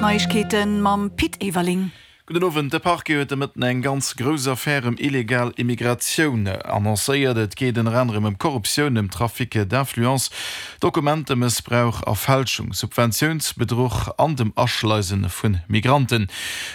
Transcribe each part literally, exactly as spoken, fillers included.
Neiegkeeten mam Pit Everling. Gudden Owend, De Parquet huet de Mëtten eng ganz grouss Affär ëm illegal Immigratioun annoncéiert. Et geet ënner anerem ëm Korruptioun, ëm Trafic d'influence, Dokumentemëssbrauch a Fälschung, Subventiounsbedruch an dem Aschleise vu Migranten.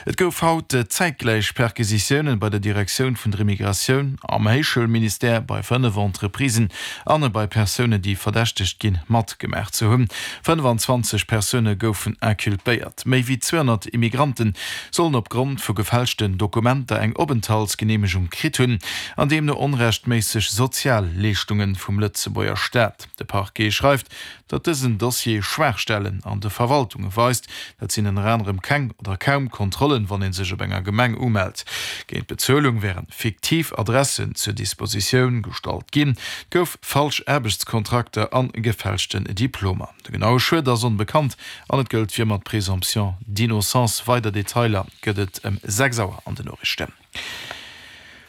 Et gouf haut zäitgläich Perquisitiounen bei der Direktioun vun der Immigratioun, am Héichschoulministère, bei fënnef Entreprisen an bei Persounen, déi verdächtegt ginn, matgemaach ze hunn. fënnefanzwanzeg Persoune goufen inculpéiert. Méi wéi zweehonnert Immigranten sollen op Grond vu gefälschten Dokumenter eng Openthaltsgeneemegung kritt hunn an deemno onrechtméisseg Sozialleeschtunge vum Lëtzebuerger Staat. De Parquet schreift, datt dësen Dossier Schwaachstellen an de Verwaltunge weist. Dat sinn ënner anerem keng oder kaum Kontrollen, wann ee sech op enger Gemeng umellt. Géint Bezuelung wären fiktiv Adressen zur Dispositioun gestallt ginn, et gouf falsch Aarbechtskontrakter an gefälschten Diplomer. De genaue Schued ass onbekannt an et gëllt fir ëmmer d'Présomption d'innocence. Weider Detailer gëtt et ëm sechs Auer an den Noriichten.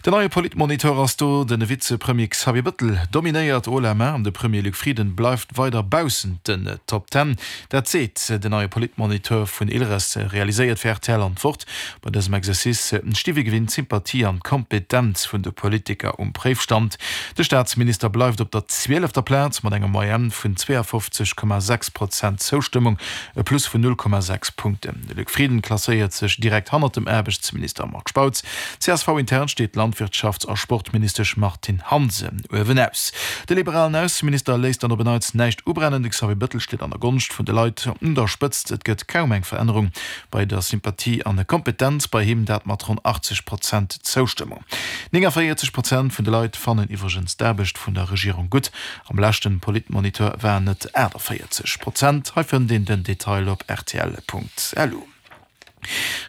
Den neie Politmonitor ass do, De Vizepremier Xavier Bëttel dominéiert haut la main an de Premier Luc Frieden bleift weider baussent den Top Ten. Dat seet den neie Politmonitor vun Ilres, realiséiert fir rtl an d'Wort. Bei dësem Exercice sti wéi gewinnt d'Sympathie an d'Kompetenz vun de Politiker um Préifstand. De Staatsminister bleift op der zwielefter Plaz mat enger Moyenne vun zweeafofzeg Komma sechs Prozent Zoustëmmung, e Plus vun null Komma sechs Punkten. De Luc Frieden klasséiert sech direkt hannert dem Aarbechtsminister Marc Spautz. C S V-intern steet d'Landwirtschafts a Sportministesch Martine Hansen uewenaus. De liberalen Ausseminister léisst dann op en Neits näischt ubrennen. De Xavier Bëttel steet an der Gonscht vun de Leit un der Spëtzt. Et gëtt kaum eng Verännerung bei der Sympathie an der Kompetenz bei him, dat mat ronn achtzeg Prozent Zoustëmmung. nénganvéierzeg Prozent vun de Leit fannen iwwregens d'Aarbecht vun der Regierung gutt. Am leschte Politmonitor waren et aachtavéierzeg Prozent. Hei fënnt een den Detail op rtl Punkt lu.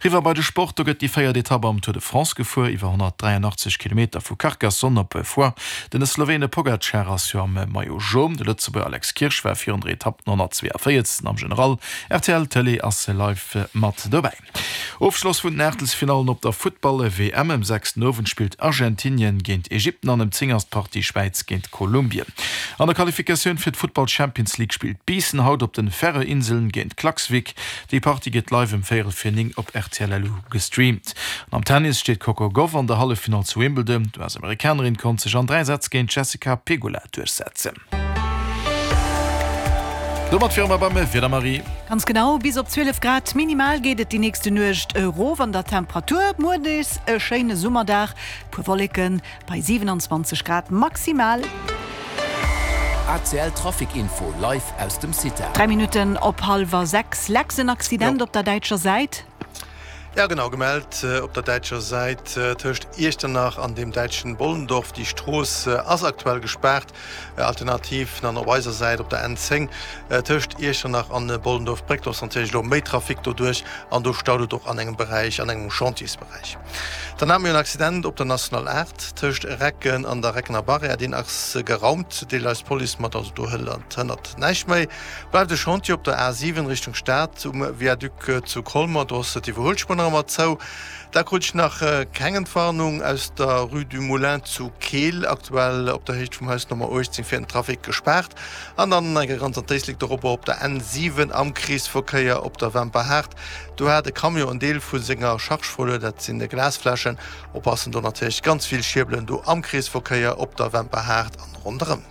Riwwer bei de Sport, do gëtt déi véiert Etapp am Tour de France gefuer, iwwer honnertdräianachtzeg Kilometer vu Carcassonne op Foix. Den Slowene Pogacar ass jo am Maillot Jaune, de Lëtzebuerger Alex Kirsch war virun der Etapp den honnertzweeënvéierzegsten am General. Rtl Tëlee ass live mat dobäi. Ofschloss vun den Aachtelsfinallen op der Futtball-W M, Ëm sechs den Owend spillt Argentinien géint Ägypten an ëm zéng ass d'Partie Schwäiz géint Kolumbien. An der Qualifikatioun fir d'Futtball-Champions League spillt Biissen haut op den Färöer-Inseln géint Klaksvik. Déi Partie gëtt live ëm véierel vir néng op rtl Lu gestreamt. An am Tennis steet d'Coco Gauff an der Halleffinall zu Wimbledon. D'U S-Amerikanerin konnt sech an dräi Sätz géint d'Jessica Pegula duerchsetzen. Domat wiere mer beim Wieder, Marie. Ganz genau, bis op zwielef Grad minimal geet et déi nächste Nuecht erof an der Temperatur. Muer nees e schéine Summerdag, puer Wolleken bei siewenanzwanzeg Grad maximal. A C L Trafic Info live aus dem Cita. Dräi Minutten op hallwer sechs. Lex, en Accident op der däitscher Säit. Ja genau, gemellt op der däitscher Säit tëscht Iechternach an dem däitschen Bollendorf. Déi Strooss ass aktuell gespaart. Alternativ dann op eiser Säit op der N zéng tëscht Iechternach an Bollendorf-Bréck. Do ass natierlech elo méi Trafic doduerch an do staut et och an engem Beräich, an engem Chantiersberäich. Dann hate mir en Accident op der National aacht tëscht Recken an der Reckener Barrière. Deen ass geraumt, deelt eis d'Police mat, also do hënnert näischt méi. Bleift e Chantier op der A siwen Richtung Stad um Viaduc zu Colmer, do ass d'Iwwerhuelspuer nach ëmmer zou. Da krut ech nach keng Entwarnung aus der Rue du Moulin zu Keel, aktuell op der Héicht vum Haus Nummer uechtzéng fir den Trafic gespaart. An dann eng ganz an d'Éislek dorobber op der N siwen am Kreesverkéier op der Wemperhaart, do hat e Camion en Deel vu senger Charge verluer, dat sinn Glasfläschen. Oppassen, do natierlech ganz vill Schierbelen do am Kreesverkéier op der Wemperhaart an ronderëm.